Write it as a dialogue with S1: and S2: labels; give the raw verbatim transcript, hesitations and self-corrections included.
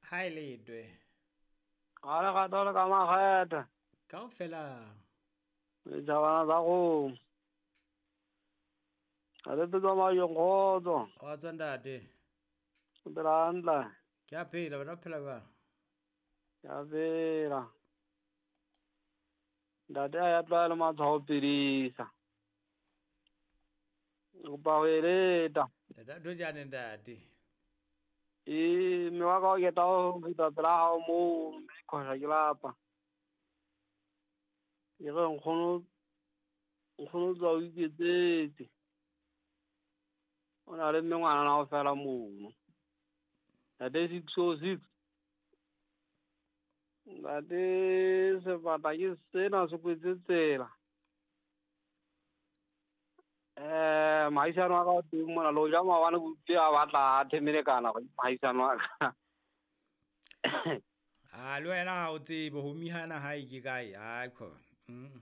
S1: Ha e letwe.
S2: Ga le gato le ka makgethe.
S1: Kaofela.
S2: Ditjhabana tsa kgomo. Ha le tsamaya kgotso.
S1: Kgotso ntate.
S2: O phela hantle.
S1: Ke a phela, wena o phela jwang?
S2: Ke a phela. Ntate a ya tlwaela matshwao phedisa. Ke kopa ho eleta.
S1: Ntate Dojane ntate.
S2: E mme wa ka o keta ho feta pela hao moo mme khosha ke lapa. E re nkgono nkgono tswa o iketsetse. O na le mme ngwana na o fela mono. Ntate six oh six. Ntate sebata ke sena se kwetse tsela. Eh mahisano wa ka o teng mona le hoja maobane ke utlwile a batla a themelekana mahisano wa ka.
S1: Ah, le wena ha o tsebe ho mihana hae ke kae? Hai khona. Mm.